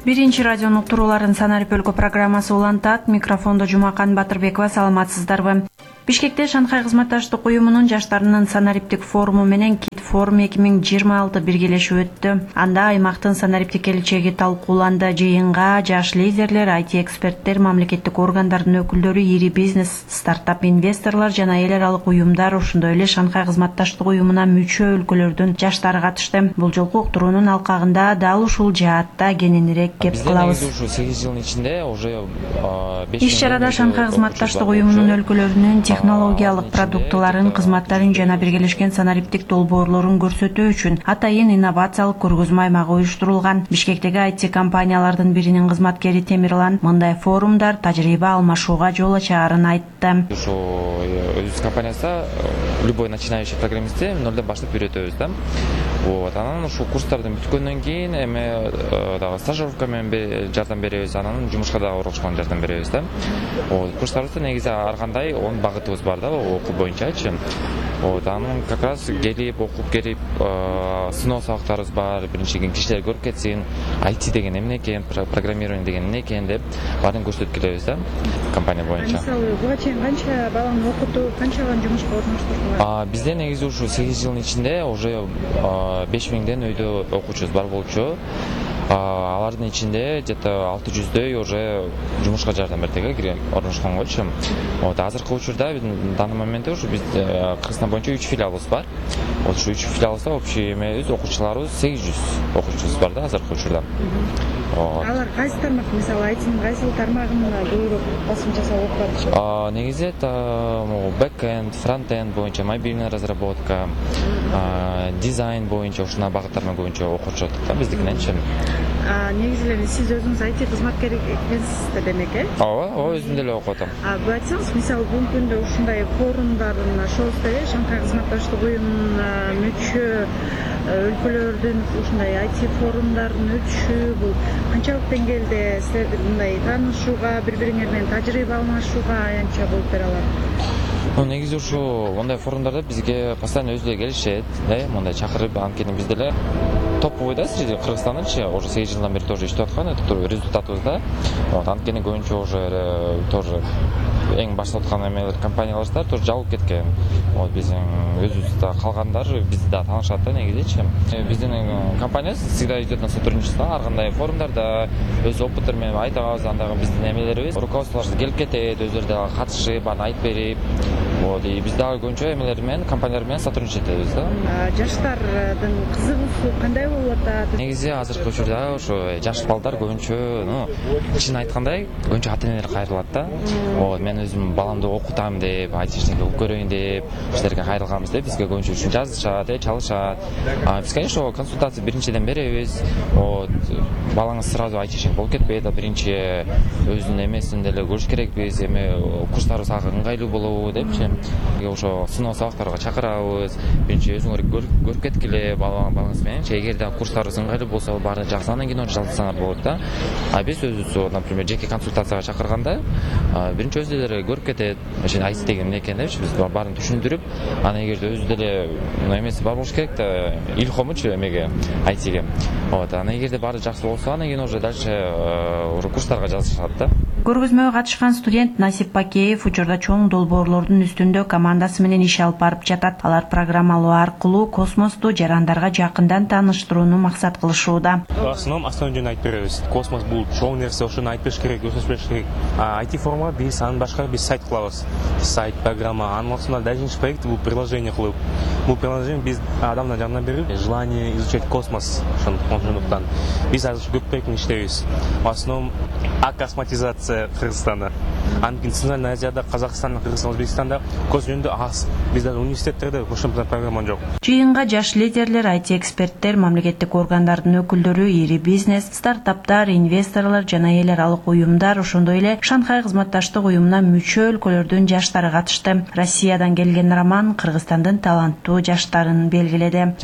Биринчи радионун уктурууларын санарип өлкө программасы улантат. Микрофондо Жумакан Батырбекова. Саламатсыздарбы? Бишкекте Шанхай кызматташтык уюмунун жаштарынын санариптик форуму менен Кит форум 2026 биргелешип өттү. Анда аймактын санариптик келечеги талкууланды. Жыйынга жаш лидерлер, IT эксперттер, мамлекеттик органдардын өкүлдөрү, ири бизнес, стартап инвесторлор жана эл аралык уюмдар, ошондой эле Шанхай кызматташтык уюмуна мүчө өлкөлөрдүн жаштары катышты. Бул жолку уктуруунун алкагында дал ушул жаатта кененирээк кеп кылабыз. Ушу 8 жылдын ичинде уже 5 иш-чарада Шанхай кызматташтык уюмунун өлкөлөрүнүн технологиялык продуктыларын, кызматтарын жана биргелешкен санариптик долбоорлорун көрсөтүү үчүн атайын инновациялык көргөзмө аймагы уюштурулган. Бишкектеги IT компаниялардын биринин кызматкери Темирлан мындай форумдар тажрыйба алмашууга жол ачаарын айтты. Ушу өзүбүз компаниясында любой начинающий программистти нолдон баштап үйрөтөбүз да. Вот, анан ушул курстардын бүткөндөн кийин эми дагы стажировка менен жардам беребиз, анан жумушка дагы оролушканга жардам беребиз да. Вот, курстарыбызда негизи ар кандай 10 багытыбыз бар да, окуу боюнчачы. Вот, анан как раз келип, окуп келип, сыноо сабактарыбыз бар. Биринчиден кишилер көрүп кетсин, IT деген эмне экен, программирование деген эмне экен деп баарын көрсөтүп келебиз да, компания боюнча. Мисалы, буга чейин канча баланы окутуп, канчадан жумушка орноштурдуңар? Бизде негизи ушу 8 жылдын ичинде уже 5000ден өйдө окуучубуз бар болчу. Алардын ичинде где-то 600дөй уже жумушка жардам бердик, орношконгочу. Вот, азыркы учурда биздин данный моментте ушу биз Кыргызстан боюнча 3 филиалыбыз бар. Вот ушу 3 филиалыбызда общий эмебиз, окуучуларыбыз 800 окуучубуз бар да азыркы учурда. Алар кайсы тармак, мисалы айтсаң, кайсы тармагын көбүрөөк басым жасап окуп атышат? Негизи это бэкэнд, фронтенд боюнча, мобильная разработка, дизайн боюнча ушуна багыттарына көбүнчө окутушат да биздикиненчи. Негизи эле сиз өзүңүз IT кызматкери экенсиз да демек, э? Ооба, өзүм деле окуп атам. Бул айтсаңыз, мисалы бүгүнкү күндө ушундай форумдардын шоусу эле Шанхай кызматташтык уюмуна мүчө өлкөлөрдүн ушундай IT форумдардын өтүшү бул канчалык деңгээлде силерди мындай таанышууга, бири-бириңер менен тажрыйба алмашууга аянтча болуп бере алат? Негизи ушу мындай форумдарда бизге постоянно өзү эле келишет, мындай чакырып, анткени биз деле топовой да среди Кыргызстандачы уже 8 жылдан бери тоже иштеп аткан, это результатыбыз да. Вот, анткени көбүнчө уже тоже эң башта аткан эмелер компанияларда тоже жабылып кеткен. Вот, биздин өзүбүздө калгандар бизди да таанышат да негизичи. Биздин компания всегда идет на сотрудничество, ар кандай форумдарда өз опыттары менен айтабыз, андагы биздин эмелерибиз руководстволор келип кетет, өздөрү дагы катышып, аны айтып берип. Вот, и биз дагы көбүнчө эмелер менен компаниялар менен сотрудничать этебиз да. Жаштардын кызыгуусу кандай болуп атат? Негизи азыркы учурда ошо жаш балдар көбүнчө, чын айткандай, көбүнчө ата-энелер кайрылат да. Вот, мен өзүм баламды окутам деп, айтыштык окуп көрөйүн деп, силерге кайрылганбыз деп бизге көбүнчө үчүн жазышат, чалышат. Биз, конечно, консультация биринчиден беребиз. Вот, балаңыз сразу айтышын болуп кетпейт, биринчи өзүнүн эмесин деле көрүш керекпиз, эми курстарыбыз ага ыңгайлуу болобу депчи. Ошо сыноо сабактарга чакырабыз. Биринчи өзүңөр көрүп кеткиле балаңыз менен. Эгер да курстарыбыз ыңгайлуу болсо, баары жаксы, анан кийин жалдасаңар болот да. Биз өзүбүз, например, жеке консультацияга чакырганда, биринчи өзү деле көрүп кетет, ошо IT деген эмне экенин депчи, биз баарын түшүндүрүп, анан эгерде өзү деле эмеси бар болуш керек да, илхомучу эмеге, IT-ге. Вот, анан эгерде баары жакшы болсо, анан кийин уже дальше курстарга жазышат да. Көргөзмөгө катышкан студент Насип Пакеев учурда чоң долбоорлордун үстүндө командасы менен иш алып барып жатат. Алар программалоо аркылуу космосту жарандарга жакындан тааныштырууну максат кылышууда. Основном жөн айтып беребиз. Космос бул чоң нерсе, ошону айтып бериш керек, көрсөтүш керек. IT форумга биз анын башка биз сайт кылабыз. Сайт, программа, анын ортосунда дальнейший проект бул приложение кылып. Бул приложение биз адамдын жанына берип, желание изучать космос ошондуктан биз азыр көп проект менен иштейбиз. В основном акосматизация Кыргызстанда. Анткени Центральная Азияда, Казакстанда, Кыргызстанда, Өзбекстанда космос жөнүндө аз. Бизде университеттерде ошондой программа жок. Жыйынга жаш лидерлер, IT эксперттер, мамлекеттик органдардын өкүлдөрү, ири бизнес, стартаптар, инвесторлор жана эл аралык уюмдар, ошондой эле Шанхай кызматташтык уюмуна мүчө өлкөлөрдүн жаштары катышты. Россиядан келген Роман Кыргызстандын таланттуу жаштарын белгиледи.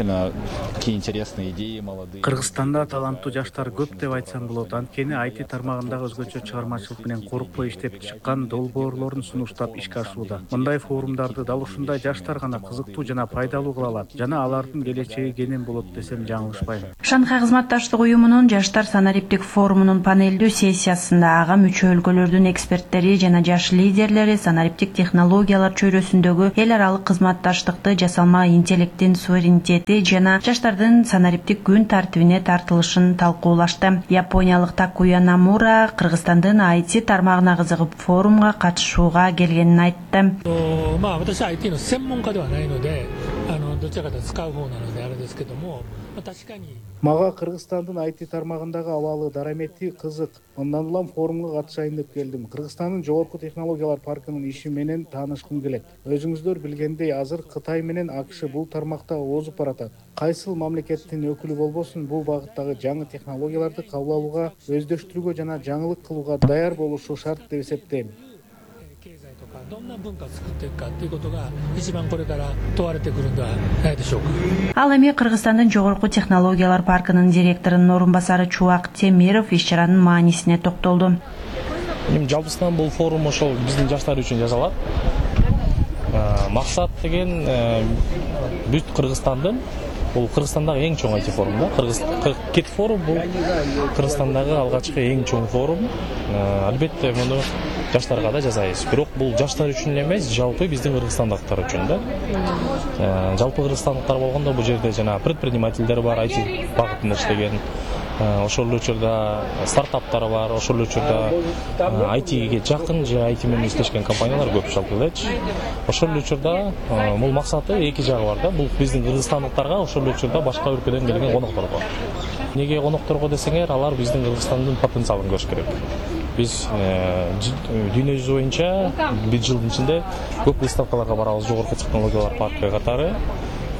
Кыргызстанда таланттуу жаштар көп деп айтсам болот. Анткени IT тармагындагы өзгөчө чыгармачылык коопсуздук менен коркпой иштеп чыккан долбоорлорун сунуштап ишке ашууда. Мындай форумдарды дал ушундай жаштар гана кызыктуу жана пайдалуу кыла алат жана алардын келечеги кенен болот десем жаңылышпайм. Шанхай кызматташтык уюмунун жаштар санариптик форумунун панелдүү сессиясында ага мүчө өлкөлөрдүн эксперттери жана жаш лидерлери санариптик технологиялар чөйрөсүндөгү эл аралык кызматташтыкты, жасалма интеллекттин суверенитети жана жаштардын санариптик күн тартибине тартылышын талкуулашты. Япониялык Такуя Намура Кыргызстандын IT тармагына кызыгып форумга катышууга келгенин айтты. 私は IT の専門家ではないので、どちらかというと使う方なのであれですけども、確かに Мага Кыргызстандын IT тармагындагы абалы дарамети кызык. Мындан улам форумга катышайын деп келдим. Кыргызстандын жогорку технологиялар паркынын иши менен таанышкым келет. Өзүңүздөр билгендей, азыр Кытай менен АКШ бул тармакта озуп баратат. Кайсыл мамлекеттин өкүлү болбосун, бул багыттагы жаңы технологияларды кабыл алууга, өздөштүрүүгө жана жаңылык кылууга даяр болушу шарт деп эсептейм. どんな文化を作っていくかということが一番これから問われてくるんではないでしょうか。 Ал эми Кыргызстандын жогорку технологиялар паркынын директорунун орун басары Чубак Темиров иш-чаранын маанисине токтолду. Жалпысынан бул форум ошол биздин жаштар үчүн жасалат. Максат деген бүт Кыргызстандын, бул Кыргызстандагы эң чоң IT форум да. Кит форум бул Кыргызстандагы алгачкы эң чоң форум. Албетте муну жаштарга да жасайбыз. Бирок бул жаштар үчүн эмес, жалпы биздин кыргызстандыктар үчүн да. Жалпы кыргызстандыктар болгондо бул жерде жана предпринимательдер бар, IT багытында иштеген. Ошол учурда стартаптар бар, ошол учурда IT-ге жакын же IT менен иштешкен компаниялар көп жалпы элечи. Ошол учурда бул максаты эки жагы бар да. Бул биздин кыргызстандыктарга ошол учурда башка өлкөдөн келген конокторго. Неге конокторго десеңер, алар биздин Кыргызстандын потенциалын көрүш керек. Биз дүйнө жүзү боюнча бир жылдын ичинде көп выставкаларга барабыз, жогорку технологиялар паркы катары.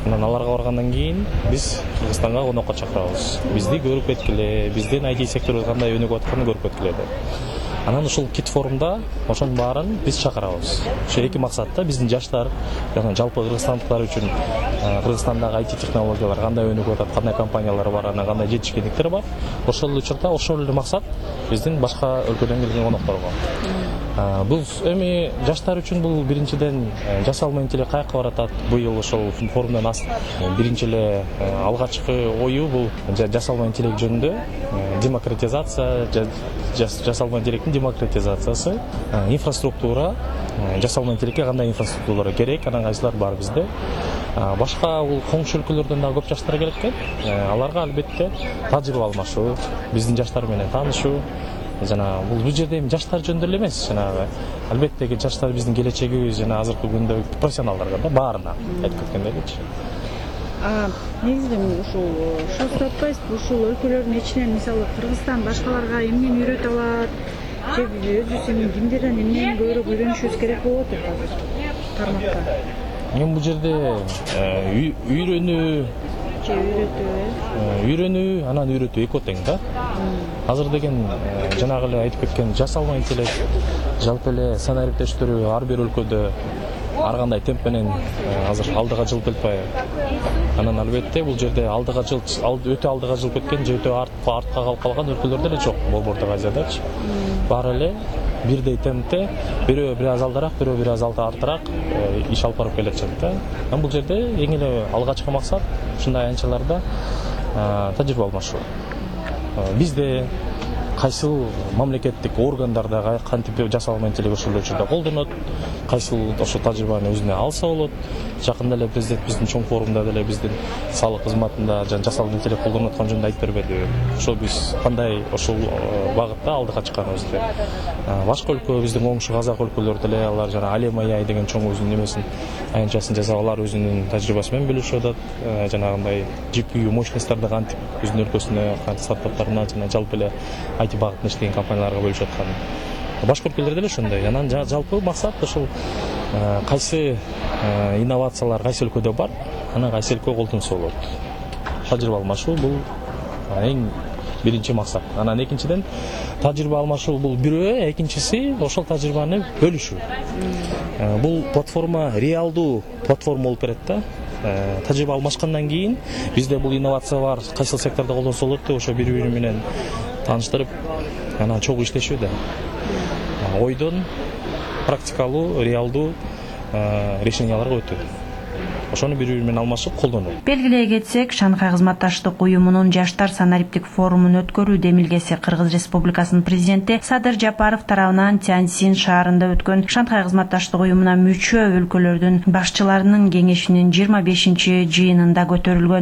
Анан аларга баргандан кийин биз Кыргызстанга конокко чакырабыз. Бизди көрүп кеткиле, биздин IT сектору кандай өнүгүп атканын көрүп кеткиле деп. Анан ушул кит форумда ошонун баарын биз чакырабыз. Ошо эки максатта биздин жаштар жана жалпы кыргызстандыктар үчүн Кыргызстандагы IT технологиялар кандай өнүгүп атат, кандай компаниялар бар, анан кандай жетишкендиктер бар. Ошол учурда ошол эле максат биздин башка өлкөдөн келген конокторго. Бул эми жаштар үчүн бул биринчиден жасалма интеллект каяка баратат. Быйыл ошол форумдан биринчи эле алгачкы ою бул жасалма интеллект жөнүндө демократизация, жасалма интеллекттин демократизациясы, инфраструктура, жасалма интеллектке кандай инфраструктуралар керек, анан кайсылар бар бизде. Башка бул коңшу өлкөлөрдөн да көп жаштар келет экен. Аларга албетте тажрыйба алмашуу, биздин жаштар менен таанышуу. Жана бул жерде эми жаштар жөнүндө эле эмес, жанагы албетте жаштар биздин келечегибиз жана азыркы күндө профессионалдарга да баарына айтып кеткендейчи. Негизинен ушул шоусу атпайсызбы, ушул өлкөлөрдүн ичинен мисалы Кыргызстан башкаларга эмнени үйрөтө алат, же өзүбүз эми кимдерден эмнени көбүрөөк үйрөнүшүбүз керек болот деп азыр тармакта. Эми бул жерде үйрөнүү, анан үйрөтүү экөө тең да. Азыр деген жанагы эле айтып кеткен жасалма интеллект, жалпы эле санариптештирүү ар бир өлкөдө ар кандай темп менен азыр алдыга жылып келпай. Анан албетте бул жерде өтө алдыга жылып кеткен же өтө артка калып калган өлкөлөр деле жок Борбордук Азиядачы. Баары эле бирдей темпте, бирөө бир аз алдараак, бирөө бир аз артыраак иш алып барып келатышат да. Анан бул жерде эң эле алгачкы максат ушундай аянтчаларда тажрыйба алмашуу. Бизде кайсыл мамлекеттик органдарда кантип жасалма интеллект ошол учурда колдонот, кайсыл ошол тажрыйбаны өзүнө алса болот. Жакында эле президент биздин чоң форумда деле биздин салык кызматында жана жасалма интеллект колдонуп аткан жөнүндө айтып бербеди. Ошол биз кандай ошол багытта алдыга чыкканыбызды. Башка өлкө биздин оңшу казак өлкөлөр деле алар жана Алем AI деген чоң өзүнүн немесин аянтчасын жасап алар өзүнүн тажрыйбасы менен бөлүшүп атат. Жанагындай GPU мощностьтарды кантип өзүнүн өлкөсүнө стартаптарына жана жалпы эле IT багытында иштеген компанияларга бөлүшүп аткан. Башка өлкөлөрдө эле ошондой. Анан жалпы максат ошол кайсы инновациялар кайсы өлкөдө бар, анан кайсы өлкө колдонсо болот. Тажрыйба алмашуу бул эң биринчи максат. Анан экинчиден тажрыйба алмашуу бул бирөө, экинчиси ошол тажрыйбаны бөлүшүү. Бул платформа реалдуу платформа болуп берет да. Тажрыйба алмашкандан кийин бизде бул инновация бар, кайсыл сектордо колдонсо болот деп ошо бири-бири менен тааныштырып, анан чогуу иштешүү да. Ойдон практикалуу, реалдуу решенияларга өтүү. Ошону бири-бири менен алмашып колдонуу. Белгилей кетсек, Шанхай кызматташтык уюмунун жаштар санариптик форумун өткөрүү демилгеси Кыргыз Республикасынын президенти Садыр Жапаров тарабынан Тяньсин шаарында өткөн Шанхай кызматташтык уюмуна мүчө өлкөлөрдүн башчыларынын кеңешинин 25-жыйынында көтөрүлгөн.